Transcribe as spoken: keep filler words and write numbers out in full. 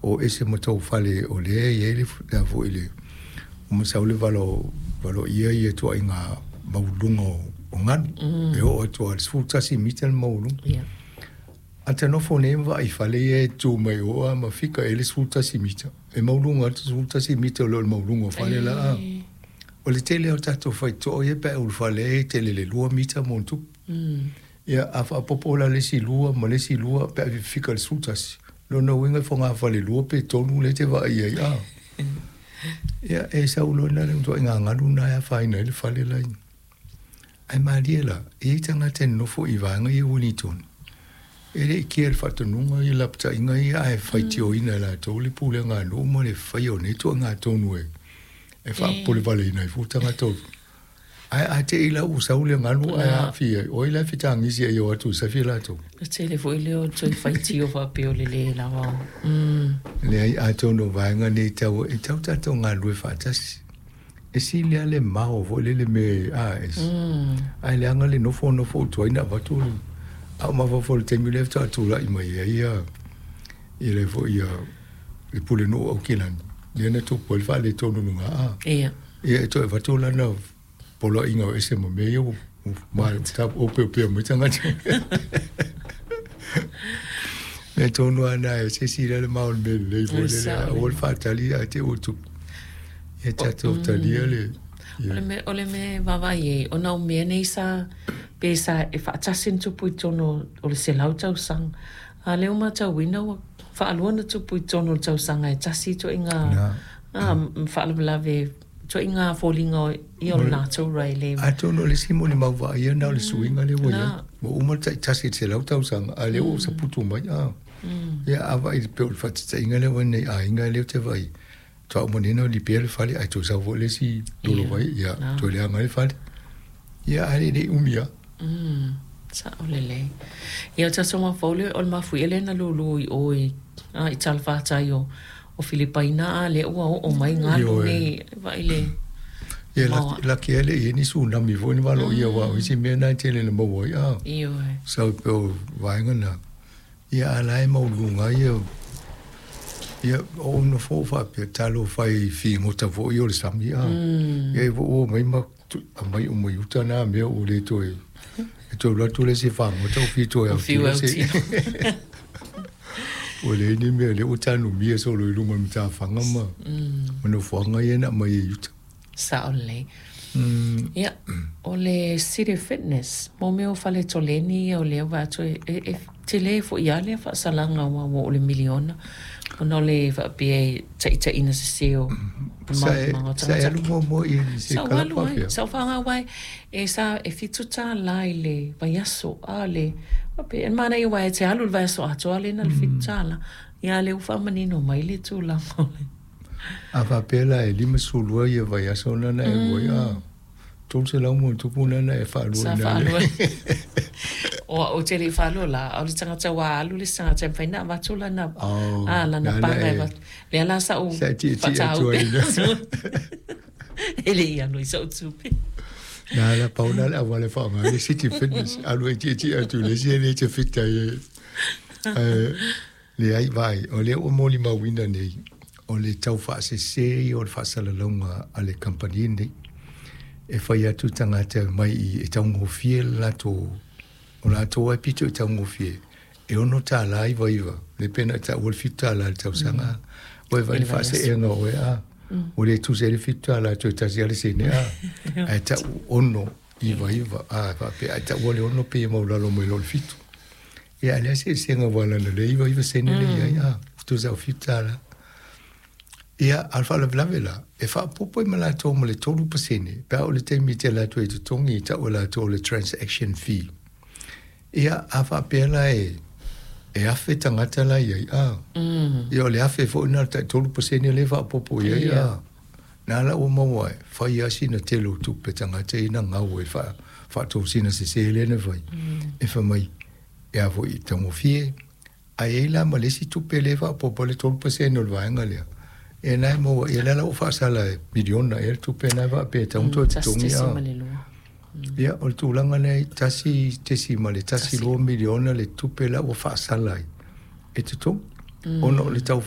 O ese ma tou fale o lea e i ai le le a foi le ua masau le valo valoia ia ituaiga maualuluga o, o galu mm. e oo atu lava i le sefulu tasi mita le maualuga. Yeah. A ta nofo nei ma vaai i fale ia e tu mai o a ma fika e le sefulu tasi mita. E maualuga atu sefulu tasi mita o le maualuga o fale la. A. O le tele o tatou faitotoa ia pe a ulufale ai e tele le lua mita ma ona tupu. Mm. Ia a faaopoopo la le isi lua ma le isi lua pe a fika i le sefulu tasi. Lona uiga e fogafale lua pe tolu lea e te vaai ai a. Ia e sau loa lena le ituaiga galu lena e afaina ai le fale la. Ae malie la, e i ai tagata e nonofo i vaega ia Wellington. E le i kea i le faatonuga ia lapataiga ia ae faitioina e latou le pulega a nuu ma le faia o nei ituaiga tonu e e faapopolevaleina ai fua tagata o Ae a te i la ua sau le galu ae aafia ai, o ai la e fetagisi ai e o atu i safi latou? Le tele foi lea o toe faitio faapea o le lē lava o. Mm. Leai, atonu o vaega nei tau, e tau tatou galulue faatasi. E sili lava le mao foi lele me a e Mm. ae leaga le nofo nofo ou tuai na avatu le a ou mafaufau i le taimi lea faatoa tulai mai ai ia ia le foi ia le pulenuu o Aukilani lea na tupu ai le faaletonu i luga a Ia. ia e toe avatu lana poloaiga o ese ma mea ia ua ua opeopea mai tagata. Mea tonu lava lena e se isi le mao o le mea lelei foi lele aua le faatali ae te i ua tupu. Ia tatou talia le O le mea, o le mea e vaavaai ai, ona o mea nei sa, pe sa e faatasi ona tupu i totonu o le selau tausaga. A o lea ua matauina ua faalua ona tupu i totonu o le tausaga e tasi ituaiga faalavelave, ituaiga foliga o ia o le natura e le. Atonu o le isi molimau vaaia lena o le suiga lea ua i ai. Ua uma le taitasi i le selau tausaga, a o lea ua saputu mai. A. Ia, a vaai pei o le faataitaiga lea ua i ai nei aiga lea ou te vaai, faatoa uma nei ona lipea le fale, ae toe sau foi le isi lolovai, ia, toe leaga ai le fale. Ia, ae le i umi lava. Sao lelei. Ia, o tatou mafaufau lea, o le mafuie lea na lulu i o i, a, i talafatai o, o Filipaina, a lea ua oo mai galu nei, vaai le Ia, laki lava e le i i ai ni tsunami foi na valoia, aua o isi mea na e tele ina maua ai, a. Ioe. Sau pei o vaega na. Ia, a o la e maualuluga lava ia. Ia, o ou nofo ou faapea, talofa i figota foi ia o le sami, a. Ia, e ua omai ma aumai uma i uta na mea ua le toe, e toe alu atu le isi fagota ua fiu toe autilo se. Ua leai ni mea, lea ua tanumia solo i luga o le matafaga ma, ma nofoaga ia na aumai ai i uta. Sao lelei. Ia, o le City Fitness, mo mea o faletoleni ia o lea ua vaai atu e, e, e tele foi lava lea faasalaga aua ua oo i le miliona ona o le faapea e taitaiina sese o Sa e, maga o sa e tagata. alu muamua i se Sa ou kalapa alu ai, pea? sa ou faaaoga aua e sa e fitu tālā i le vaiaso, a le faapea e manaia aua e te alu i le vaiaso atoa lea na o le fitu tālā. Ia a o lea ua faamanino mai le tulaga o le. A faapea la e limasefulu lua ia vaiaso lena na e alu ai, a, tolu selau ma ona tupu lena na e faalua Sa i ina le. faalua. O au ou te le i faalua la, a o le tagata ua alu le isi tagata e mafai ona avatu lana, Oh, a, lana lana paga e e avatu. Lea la sa ou sa e tietie atu faatau ai ina. E le i alu ai sou tupe. Na la pau na le auala e faaaoga ai le City Fitness, alu e tietie atu i le isi e le te fit ai e. Ae leai, vaai, o lea ua molimauina nei, o le tau faasese ia o le faasalalauga a le kamupani lenei. E fai atu tagata mai i e taugofie le latou, o latou lava e pito i taugofie, e ono tālā iva iva, le pei ona e taua le fitu tālā i le tausaga, ua e vaai i le faaseega o oe, a, ua le tusa ai le fitu tālā toe tasi lava le sene, a, ae tau ono iva iva, a, faapea, ae taua le ono pei e maualalo mai lo le fitu. Ia, a o le a se eseesega aua leaga o lea e iva iva sene lea e i ai, a, tusa o fitu tālā. Ia, a o le faalavelave la, e faaopoopo ai ma latou ma le tolu pasene, pe a oo i le taimi e te alu atu ai i totogi, e tau e latou o le transaction fee. Ia, a faapea la e, e afe tagata la i ai, a, ia o le afe foi lena o le tai tolu pasene lea e faaopoopo i ai, a, na la ua maua ai, fai lava sina tele o tupe tagata ia na gau ai i faatosina sese lea na fai, e fai mai, e a foi e taugofie, ae i ai la ma le isi tupe lea e faaopoopo ai le tolu pasene o le vaega lea. Ia na e maua, ia lea la ua faasala e miliona ea le tupe lena e faapea e tatau ona toe totogi a. Ia, o le tulaga lea e tasi tesima le tasi lua miliona le tupe la ua faasala ai e totogi, ona o le tau